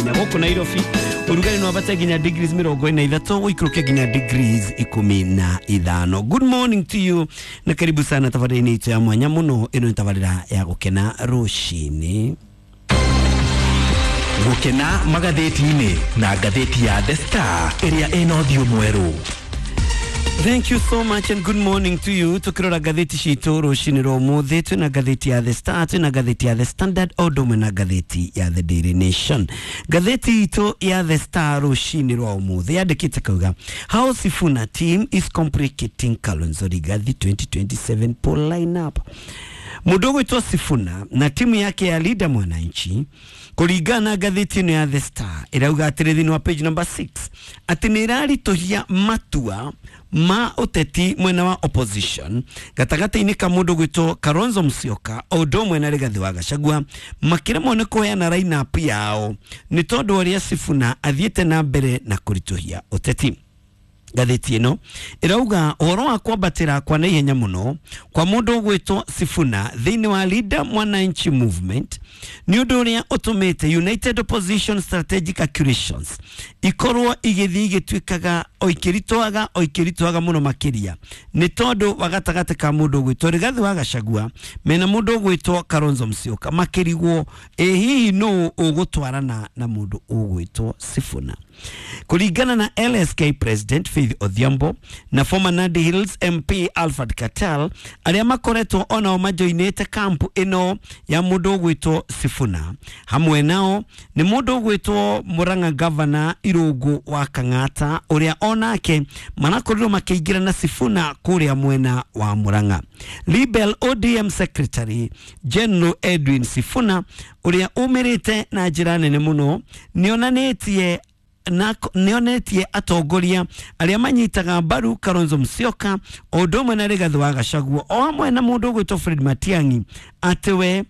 Gũkũ Nairobi ũrugarĩ no wambate nginya degrees 43, ũikũrũke nginya degrees 15. Good morning to you na karibu sana tabarĩra-inĩ itũ ya mwanya mũno. Ĩno nĩ tabarĩra ya Gũkena Rũcinĩ. Gũkena magathĩti-inĩ na ngathĩti ya The Star ĩrĩa ĩna ũthiũ mwerũ. Thank you so much and good morning to you. Tukirora ngathĩti citũ rũcinĩ rwa ũmũthĩ, twĩna ngathĩti ya The Star, twĩna ngathĩti ya The Standard, o ũndũ ũmwe na ngathĩti ya The Daily Nation. Ngathĩti itũ ya The Star rũcinĩ rwa ũmũthĩ yandĩkĩte kauga, "How Sifuna team is complicating Kalonzo Rigathi 2027 poll lineup." Mũndũ ũgwĩtwo Sifuna na timu yake ya Linda Mwananchi, kũringana na ngathĩti ĩno ya The Star, ĩrauga atĩrĩ thĩinĩ wa page number 6 atĩ nĩ ĩraritũhia matua ma ũteti mwena wa opposition gatagatĩ-inĩ ka mũndũ gwĩtwo Kalonzo Musyoka o ũndũ ũmwe na Rigathĩ wa Gachagua, makĩremwo nĩ kũheana lineup yao nĩ tondũ ũrĩa Sifuna athiĩte na mbere na kũritũhia ũteti. Ngathĩti ĩno ĩrauga ũhoro wa kwambatĩra kwa naihenya mũno kwa mũndũ ũgwĩtwo Sifuna thĩinĩ wa Linda Mwananchi Movement nĩ ũndũ ũrĩa ũtũmĩte United Opposition strategic calculations ikorwo igĩthiĩ igĩtuĩkaga o ikĩritũhaga o ikĩritũhaga mũno makĩria, nĩ tondũ wa gatagatĩ ka mũndũ ũgwĩtwo Rigathĩ wa Gachagua mena mũndũ ũgwĩtwo Kalonzo Musyoka, makĩrigwo ĩ hihi nũ ũgũtwarana na mũndũ ũgwĩtwo Sifuna. Kũringana na LSK President Faith Odhiambo na former Nandi Hills MP Alfred Keter, arĩa makoretwo onao majoinĩte kampu ĩno ya mũndũ ũgwĩtwo Sifuna, hamwe nao nĩ mũndũ ũgwĩtwo Murang'a Governor Irũngũ wa Kang'ata, ũrĩa onake marakorirwo makĩingĩra na Sifuna kũrĩa mwena wa Murang'a. Rebel ODM Secretary General Edwin Sifuna, ũrĩa umĩrĩte na njĩra nene mũno, nĩonanĩtie na nĩonetie atongoria arĩa manyitaga mbaru Kalonzo Musyoka o ũndũ ũmwe na Rigathĩ wa Gachagua o hamwe na mũndũ ũgwĩtwo Fred Matiang'i atĩ we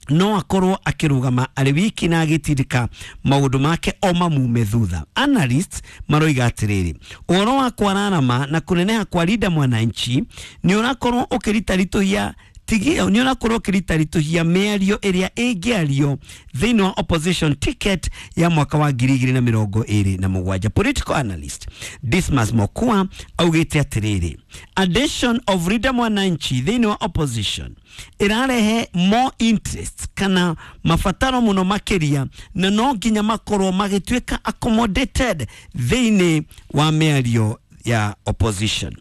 no akorwo akĩrũgama arĩ wiki na agĩtindĩka maũndũ make o mamume thutha. Analysts maroiga atĩrĩrĩ, ũhoro wa kwararama na kũneneha kwa Linda Mwananchi nĩ ũrakorwo ũkĩritaritũhia nĩ ũrakorwo ũkĩritaritũhia mĩario ĩrĩa ĩngĩario thĩinĩ wa opposition ticket ya mwaka wa 2027. Political analyst Dismas Mokua augĩte atĩrĩrĩ, addition of Linda Mwananchi thĩinĩ wa opposition ĩrarehe more interest kana mabataro mũno makĩria, na no nginya makorwo magĩtuĩka accommodated thĩinĩ wa mĩario ya opposition.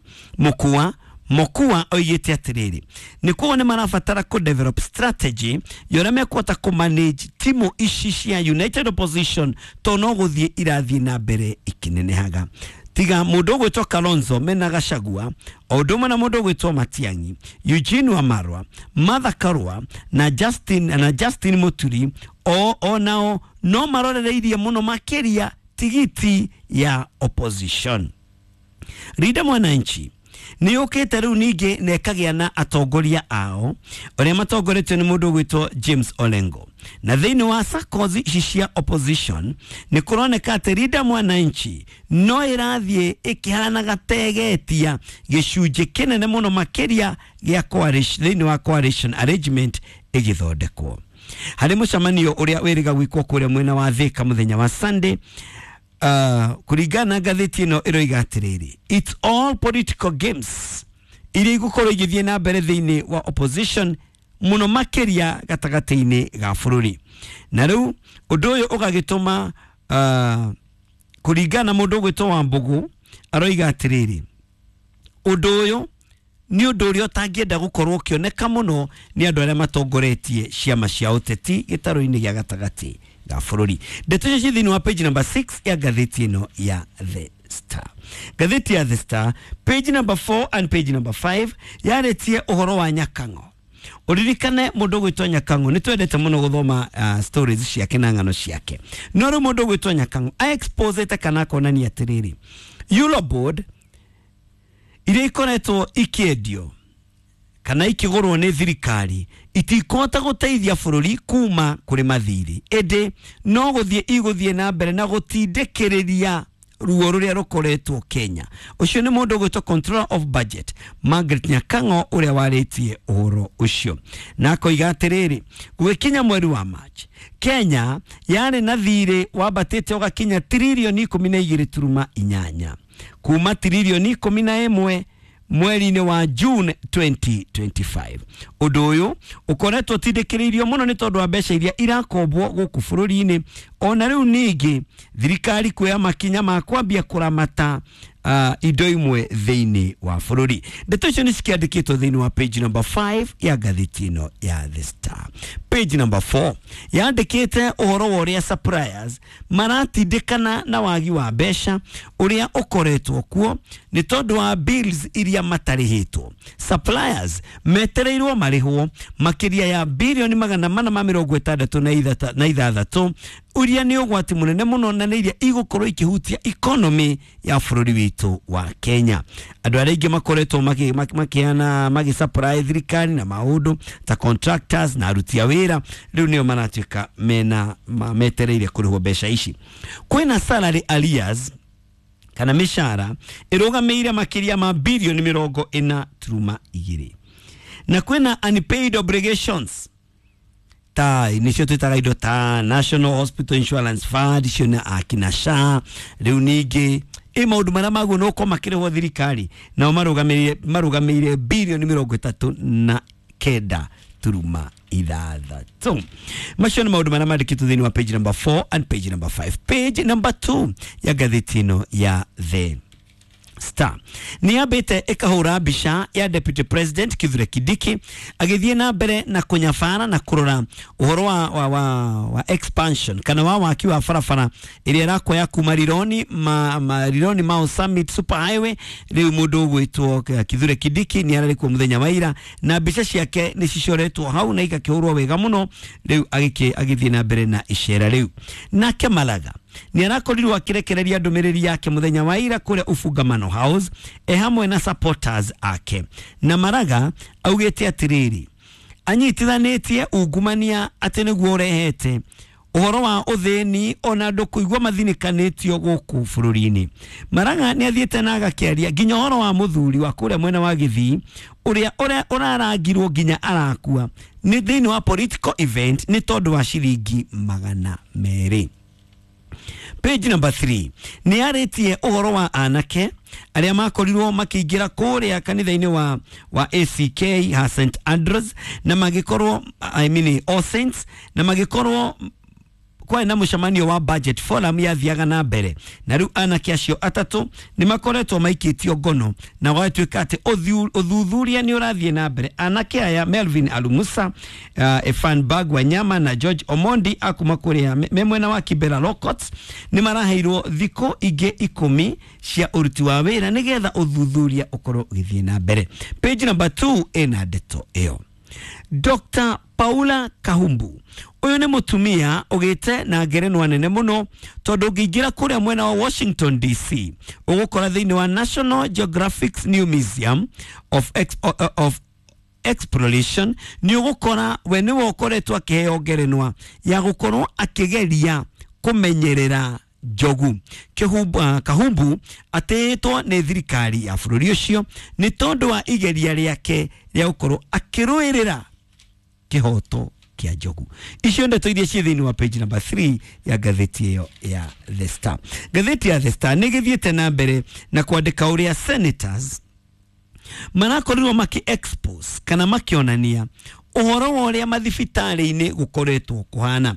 Mokua oigĩte atĩrĩrĩ, nĩ kuo nĩ marabatara kũ develop strategy ya ũrĩa mekũhota kũ manage timu ici cia United Opposition, to no gũthiĩ irathiĩ na mbere ikĩnenehaga. Tiga mũndũ ũgwĩtwo Kalonzo mena Gachagua o ũndũ ũmwe na mũndũ ũgwĩtwo Matiang'i, Eugene Wamalwa, Martha Karua na Justin Muturi o nao no marorereirie mũno makĩria tigiti ya opposition. Linda Mwananchi nĩ yũkĩte rĩu ningĩ na ĩkagĩa na atongoria ao ũrĩa matongoretio nĩ mũndũ ũgwĩtwo James Orengo, na thĩinĩ wa circles ici cia opposition nĩ kũroneka atĩ Linda Mwananchi no ĩrathiĩ ĩkĩhanaga tegetia gĩcunjĩ kĩnene mũno makĩria gĩa coalition, thĩinĩ wa coalition arrangement ĩgĩthondekwo harĩ mũcemanio ũrĩa wĩrĩga gwĩkwo kũrĩa mwena wa Thika mũthenya wa Sunday. Kũringana na ngathĩti ĩno ĩroiga atĩrĩrĩ, it's all political games iria igũkorwo igĩthiĩ na mbere thĩinĩ wa opposition mũno makĩria gatagatĩ-inĩ ga bũrũri, na rĩu ũndũ ũyũ ũgagĩtũma kũringana na mũndũ ũgwĩtwo Wambũgũ aroiga atĩrĩrĩ, ũndũ ũyũ nĩ ũndũ ũrĩa ũtangĩenda gũkorwo ũkĩoneka mũno nĩ andũ arĩa matongoretie ciama cia ũteti gĩtarũ-inĩ gĩa gatagatĩ ga bũrũri. Ndeto icio ci thĩinĩ wa page number 6 ya ngathĩti ĩno ya The Star. Ngathĩti ya The Star page number 4 and page number 5 yarĩtie ũhoro wa Nyakang'o. Ũririkane mũndũ ũgwĩtwo Nyakang'o nĩ twendete mũno gũthoma stories ciake na ng'ano ciake, no rĩu mũndũ ũgwĩtwo Nyakang'o aexposete kana akonania atĩrĩrĩ, Eurobond iria ikoretwo ikĩendio kana ikĩgũrwo nĩ thirikari itikũhota gũteithia bũrũri kuma kũrĩ mathirĩ, ĩndĩ no gũthiĩ igũthiĩ na mbere na gũtindĩkĩrĩria. Ruo rũrĩa rũkoretwo Kenya. Ũcio nĩ mũndũ ũgwĩtwo Controller of Budget Margaret Nyakang'o ũrĩa warĩtie ũhoro ũcio, na akoiga atĩrĩrĩ, gũgĩkinya mweri wa March, Kenya yarĩ na thirĩ wambatĩte ũgakinya tiririoni 12.8 kuma tiririoni 11 mweri-inĩ wa June 2025. Ũndũ ũyũ ũkoretwo ũtindĩkĩrĩirio mũno nĩ tondũ wa mbeca iria irakombwo gũkũ bũrũri-inĩ, ona rĩu ningĩ thirikari kuoya makinya ma kwambia kũramata indo imwe thĩinĩ wa bũrũri. Ndeto icio nĩ cikĩandĩkĩtwo thĩinĩ wa page number 5 ya ngathĩti ĩno ya The Star. Page number 4 yandĩkĩte ũhoro wa ũrĩa suppliers maratindĩkana na wagi wa mbeca ũrĩa ũkoretwo kuo nĩ tondũ wa bills iria matarĩhĩtwo. Suppliers metereirwo marĩhwo makĩria ya birioni 466 uria nĩ ũgwati mũnene mũno na nĩ iria igũkorwo ikĩhutia economy ya bũrũri witũ wa Kenya. Andũ arĩa aingĩ makoretwo makĩheana magĩsupply thirikari na maũndũ ta contractors na aruti a wĩra rĩu nĩo maratuĩka mena metereire kũrĩhwo mbeca ici. Kwĩna salary arrears kana mĩcara ĩrũgamĩire makĩria ma birioni 40.2, na kwĩna unpaid obligations ta nicio twĩtaga indo ta National Hospital Insurance Fund, icio nĩ akina SHA. Rĩu ningĩ ĩ maũndũ marĩa maguo no gũkorwo makĩrĩhwo thirikari nao marũgamĩrĩire birioni 39.6. Macio nĩ maũndũ marĩa mandĩkĩtwo thĩinĩ wa page number 4 and page number 5. Page number 2 ya ngathĩti ĩno ya The Star nĩ yambĩte ĩkahũra mbica ya Deputy President Kithure Kindiki agĩthiĩ na mbere na kũnyabara na kũrora ũhoro wa expansion kana wa waki wa barabara ĩrĩa ĩrakwaya kuma Rironi Rironi Mau Summit Super Highway. Rĩu mũndũ ũgwĩtwo Kithure Kindiki nĩ ararĩ kuo mũthenya wa ira na mbica ciake nĩ cicoretwo hau na igakĩhũrwo wega mũno. Rĩu agĩthiĩ na mbere na icera rĩu. Nake Maraga nĩ arakorirwo akĩrekereria ndũmĩrĩri yake mũthenya wa ira kũrĩa Ufungamano House e hamwe na supporters ake, na Maraga augĩte atĩrĩrĩ, anyitithanĩtie ungumania atĩ nĩguo ũrehete ũhoro wa ũthĩni ona andũ kũigua mathinĩkanĩtio gũkũ bũrũri-inĩ. Maraga nĩ athiĩte na agakĩaria nginya ũhoro wa mũthuri wa kũrĩa mwena wa Gĩthii ũrĩa ũrarangirwo nginya arakua nĩ thĩinĩ wa political event nĩ tondũ wa ciringi 200. Page number 3 nĩ yarĩtie ũhoro wa anake arĩa makorirwo makĩingĩra kũrĩa kanitha-inĩ wa ACK ha St Andrews na magĩkorwo, I mean All Saints, na magĩkorwo kwarĩ na mũcemanio wa budget forum yathiaga na mbere, na rĩu anake acio atatũ nĩ makoretwo maikĩtio ngono na gwatuĩka atĩ ũthuthuria nĩ ũrathiĩ na mbere. Anake aya Melvin Alumusa, Efan Bag Wanyama na George Omondi akuma kũrĩa me mwena wa Kibera Locots nĩ maraheirwo thikũ ingĩ 10 cia ũruti wa wĩra nĩgetha ũthuthuria ũkorwo ũgĩthiĩ na mbere. Page number 2 ĩna ndeto ĩyo. Dr. Paula Kahumbu ũyũ nĩ mũtumia ũgĩte na ngerenwa nene mũno tondũ ũngĩingĩra kũrĩa mwena wa Washington DC ũgũkora thĩinĩ wa National Geographic New Museum of Exploration nĩ ũgũkora we nĩwe ũkoretwo akĩheo ngerenwa ya gũkorwo akĩgeria kũmenyerera njogu. Kahumbu atĩĩtwo nĩ thirikari ya bũrũri ũcio nĩ tondũ wa igeria rĩake rĩa gũkorwo akĩrũĩrĩra kĩhoto kĩa njogu. Icio ndeto iria ciĩ thĩinĩ wa page number 3 ya ngathĩti ĩyo ya The Star. Ngathĩti ya The Star nĩ ĩgĩthiĩte na mbere na kwandĩka ũrĩa senators marakorirwo maki expose kana makĩonania ũhoro wa ũrĩa mathibitarĩ-inĩ gũkoretwo kũhana.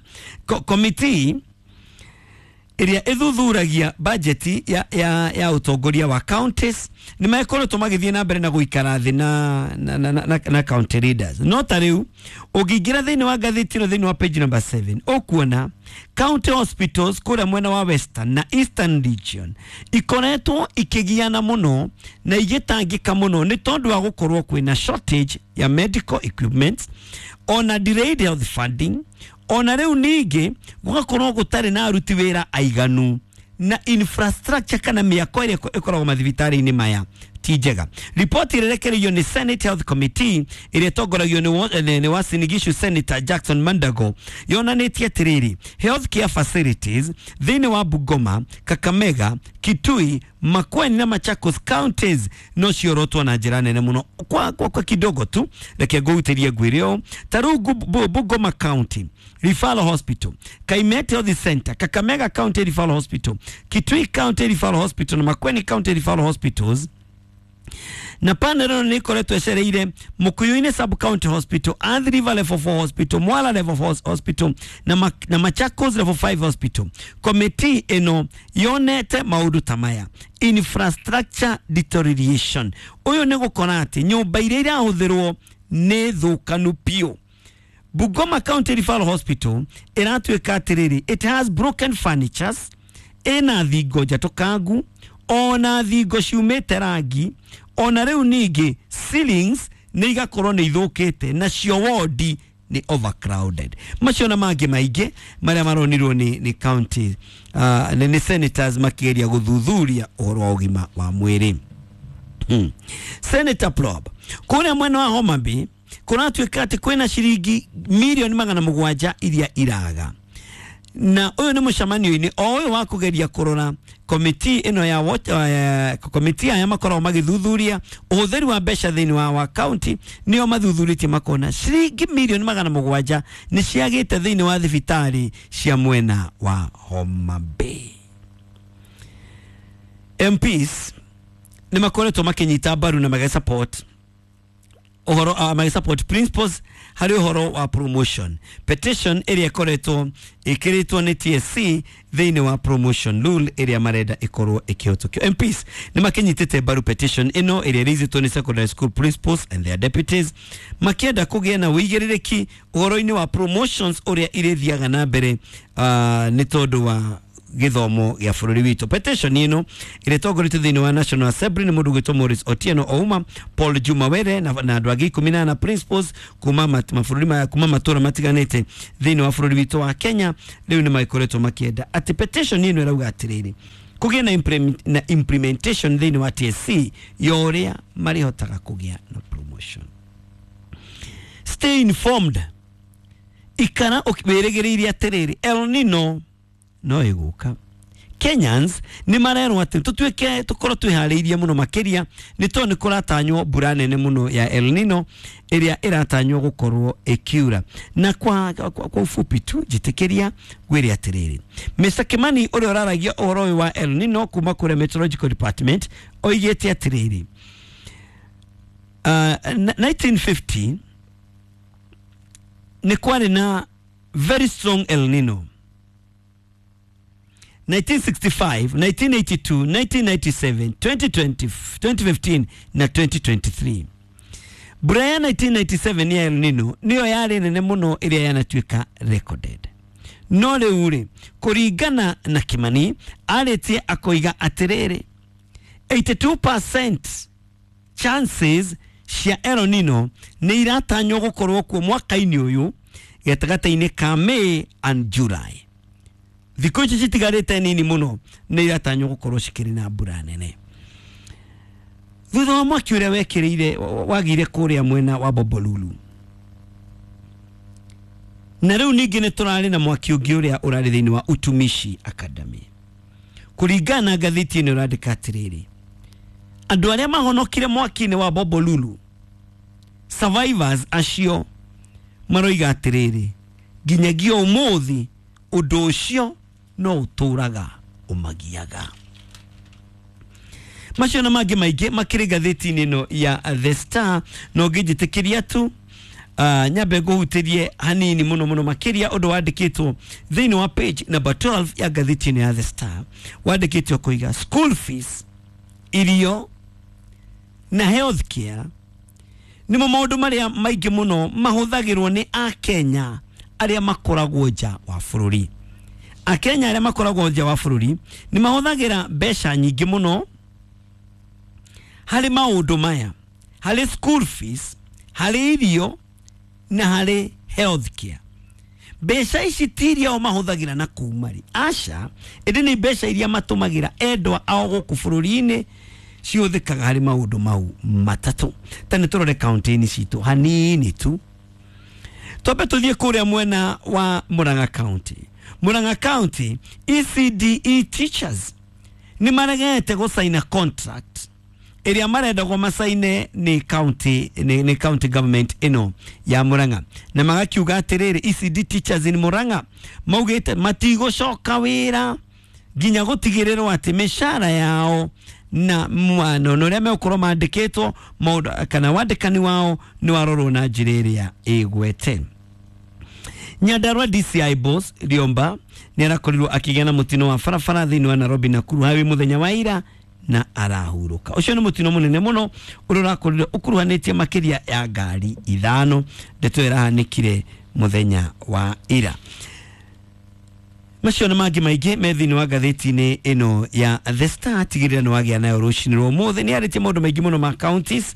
Committee ĩrĩa ĩthuthuragia bajeti ya ũtongoria wa counties nĩ makoretwo magĩthiĩ na mbere na gũikara thĩ na county leaders. No ta rĩu ũngĩingĩra thĩinĩ wa ngathĩti ĩno thĩinĩ wa page number 7 ũkuona county hospitals kũrĩa mwena wa Western na Eastern region ikoretwo ikĩgiana mũno na igĩtangĩka mũno nĩ tondũ wa gũkorwo kwĩna shortage ya medical equipment ona delayed health funding, ona rĩu ningĩ gũgakorwo gũtarĩ na aruti wĩra aiganu na infrastructure kana mĩako ĩrĩa ĩkoragwo mathibitarĩ-inĩ maya Ti njega. Ripoti ĩrerekereirio nĩ Senate Health Committee ĩrĩa ĩtongoragio nĩ Uasin Gishu Senator Jackson Mandago yonanĩtie atĩrĩrĩ, health care facilities thĩinĩ wa Bungoma, Kakamega, Kitui, Makueni na Machakos counties no ciorotwo na njĩra nene mũno. Kwa kidogo tu reke ngũhutĩrie ngwĩre ũũ, ta rĩu Bungoma County Referral Hospital, Kaimete Health Center, Kakamega County Referral Hospital, Kitui County Referral Hospital na Makueni County Referral Hospitals, na panel ĩno nĩ ĩkoretwo ĩcereire Mukuyuni Sub County Hospital, Athi River Level 4 Hospital, Mwala Level 4 Hospital na Machakos Level 5 Hospital. Committee ĩno yonete maũndũ ta maya: infrastructure deterioration, ũyũ nĩ gũkora atĩ nyũmba iria irahũthĩrwo nĩ thũkanu biũ. Bungoma County Referral Hospital ĩratuĩka atĩrĩrĩ, it has broken furnitures, ĩna thingo njatũkangu, ona thingo ciumĩte rangi, ona rĩu ningĩ ceilings nĩ igakorwo nĩ ithũkĩte, nacio wodi nĩ overcrowded. Macio na mangĩ maingĩ marĩa maronirwo nĩ county nĩ senators makĩgeria gũthuthuria ũhoro wa ũgima wa mwĩrĩ. Senator Prob, kũrĩa mwena wa Homa Bay kũratuĩka atĩ kwĩna ciringi mirioni 700 iria iraga, na ũyũ nĩ mũcemanio-inĩ o ũyũ wa kũgeria kũrora komiti ĩno ya komiti aya makoragwo magĩthuthuria ũhũthĩri wa mbeca thĩinĩ wa county, nĩo mathuthurĩtie makona ciringi mirioni 700 nĩ ciagĩte thĩinĩ wa thibitarĩ cia mwena wa Homa Bay. MPs nĩ makoretwo makĩnyita mbaru na magĩsupport ũhoro magĩsupport principals harĩ ũhoro wa promotion petition ĩrĩa ĩkoretwo ĩkĩrĩtwo nĩ TSC thĩinĩ wa promotion rule ĩrĩa marenda ĩkorwo ĩkĩhĩtũkio. MPs nĩ makĩnyitĩte mbaru petition ĩno ĩrĩa ĩraisĩtwo nĩ secondary school principals and their deputies, makĩenda kũgĩa na ũigĩrĩrĩki ũhoro-inĩ wa promotions ũrĩa irĩthiaga na mbere nĩ tondũ wa gĩthomo gĩa bũrũri witũ. Petition ĩno ĩrĩa ĩtongoretio thĩinĩ wa National Assembly nĩ mũndũ ũgwĩtwo Maurice Otieno Ouma, Paul Juma Were na andũ angĩ 14 principals kuma mabũrũri maya, kuma matũra matiganĩte thĩinĩ wa bũrũri witũ wa Kenya. Rĩu nĩ magĩkoretwo makĩenda atĩ petition ĩno ĩrauga atĩrĩrĩ, kũgĩe na implementation thĩinĩ wa TSC ya ũrĩa marĩhotaga kũgĩa na promotion. Stay informed, ikara wĩrĩgĩrĩire atĩrĩrĩ, El Nino no ĩgũka. Kenyans nĩ marerwo atĩ tũtuĩke tũkorwo twĩharĩirie mũno makĩria nĩ tondũ nĩ kũratanywo mbura nene mũno ya El Nino ĩrĩa ĩratanywo gũkorwo ĩkiura. Na kwa ufupi tu njĩtĩkĩria ngwĩre atĩrĩrĩ, Mr Kimani ũrĩa ũraragia ũhoro ũyũ wa El Nino kuma kũrĩa Meteorological Department oigĩte atĩrĩrĩ, 1950 nĩ kwarĩ na very strong El Nino, 1965, 1982, 1997, 2020, 2015 na 2023. Mbura ya 1997 ya El Nino niyo yarĩ nene mũno ĩrĩa yanatuĩka recorded. No rĩu rĩ, kũringana na Kimani arĩtie akoiga atĩrĩrĩ, 82% chances cia El Nino nĩ iratanywo gũkorwo kuo mwaka-inĩ ũyũ gatagatĩ-inĩ ka May and July. Thikũ ici citigarĩte nini mũno nĩ iratanywo gũkorwo cikĩrĩ na mbura nene thutha wa mwaki ũrĩa wekĩrĩire wagĩire kũrĩa mwena wa Bombolulu. Na rĩu ningĩ nĩ tũrarĩ na mwaki ũngĩ ũrĩa ũrarĩ thĩinĩ wa Utumishi Academy. Kũringana na ngathĩti ĩno ĩrandĩka atĩrĩrĩ, andũ arĩa mahonokire mwaki-inĩ wa Bombolulu, survivors acio maroiga atĩrĩrĩ, nginyagia ũmũthĩ ũndũ ũcio no ũtũraga ũmagiaga. Macio na mangĩ maingĩ makĩrĩ ngathĩti-inĩ ĩno ya The Star. No ngĩnjĩtĩkĩria tu nyambe ngũhutĩrie hanini mũno mũno makĩria ũndũ wandĩkĩtwo thĩinĩ wa page number 12 ya ngathĩti ĩno ya The Star, wandĩkĩtwo kũiga school fees, irio na health care nĩmo maũndũ marĩa maingĩ mũno mahũthagĩrwo nĩ Akenya arĩa makoragwo nja wa bũrũri. Akenya arĩa makoragwo nja wa bũrũri nĩ mahũthagĩra mbeca nyingĩ mũno harĩ maũndũ maya, harĩ school fees, harĩ irio na harĩ health care. Mbeca ici ti iria o mahũthagĩra na kuma rĩ, aca, ĩndĩ nĩ mbeca iria matũmagĩra endwa ao gũkũ bũrũri-inĩ Ciũthĩkaga harĩ maũndũ mau matatũ. Ta nĩ tũrore kaunti-inĩ citũ hanini tu. Twambe tũthiĩ kũrĩa mwena wa Murang'a County. Murang'a County, ECDE teachers nĩ maregete gũcaina contract ĩrĩa marendagwo macaine nĩ county, nĩ county government ĩno ya Murang'a, na magakiuga atĩrĩrĩ, ECD teachers in Murang'a maugĩte matigũcoka wĩra nginya gũtigĩrĩrwo atĩ mĩcara yao na mwano na ũrĩa megũkorwo mandĩkĩtwo maũndũ kana wandĩkani wao nĩ warorwo na njĩra ĩrĩa ĩgwete. Nyandarua DCI boss Riomba nĩ arakorirwo akĩgĩa na mũtino wa barabara thĩinĩ wa Nairobi Nakuru Highway mũthenya wa ira na arahurũka. Ũcio nĩ mũtino mũnene mũno ũrĩa ũrakorirwo ũkuruhanĩtie makĩria ya ngari 5. Ndeto ĩyo ĩrahanĩkire mũthenya wa ira. Macio na mangĩ maingĩ me thĩinĩ wa ngathĩti-inĩ ĩno ya The Star. Tigĩrĩra nĩ wagĩa nayo rũcinĩ rwa ũmũthĩ. Nĩ yarĩtie maũndũ maingĩ mũno ma counties,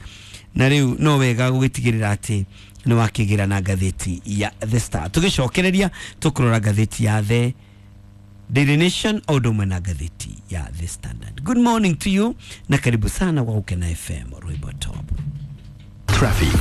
na rĩu no wega gũgĩtigĩrĩra atĩ nĩ wakĩgĩra na ngathĩti ya The Star. Tũgĩcokereria tũkũrora ngathĩti ya The Daily Nation o ũndũ ũmwe na ngathĩti ya The Standard. Good morning to you na karibu sana kwa Gukena FM Rwimbo Top. Traffic.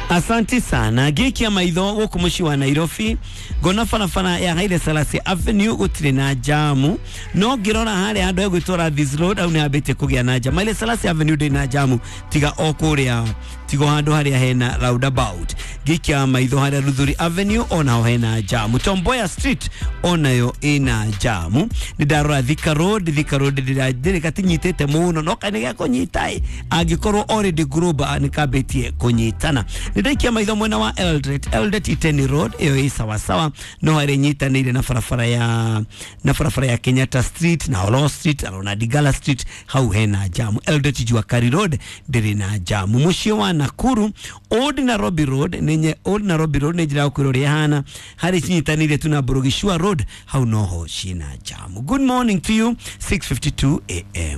Asanti sana. Ngĩikia maitho gũkũ mũciĩ wa Nairobi, ngona barabara ya Haile Selassie Avenue gũtirĩ na jamu, no ngĩrora harĩa handũ hegwĩtwo Landhies Road hau nĩ hambĩtie kũgĩa na jamu. Haile Selassie Avenue ndĩrĩ na jamu tiga o kũrĩa, tiga o handũ harĩa hena roundabout. Ngĩikia maitho harĩa Luthuli Avenue onaho hena jamu. Tom Mboya Street onayo ĩna jamu. Nĩ ndarora Thika Road, Thika Road ndĩrĩ gatinyitĩte mũno, no kaĩ nĩ gekũnyita ĩ, angĩkorwo already Global nĩ kambĩtie kũnyitana. Nĩ ndaikia maitho mwena wa Eldoret, Eldoret Iten Road ĩyo ĩ sawasawa, no harĩa ĩnyitanĩire na barabara ya, na barabara ya Kenyatta Street na Olo Street na Ronald Ngala Street, hau hena jamu. Eldoret Juakari Road ndĩrĩ na jamu. Mũciĩ wa Nakuru Old Nairobi Road nĩ Old Nairobi Road nĩ njĩra ya gũkwĩra ũrĩa ĩhana, harĩa cinyitanĩire tu na Burugishua Road hau noho ciĩna jamu. Good morning to you. 6:52 am.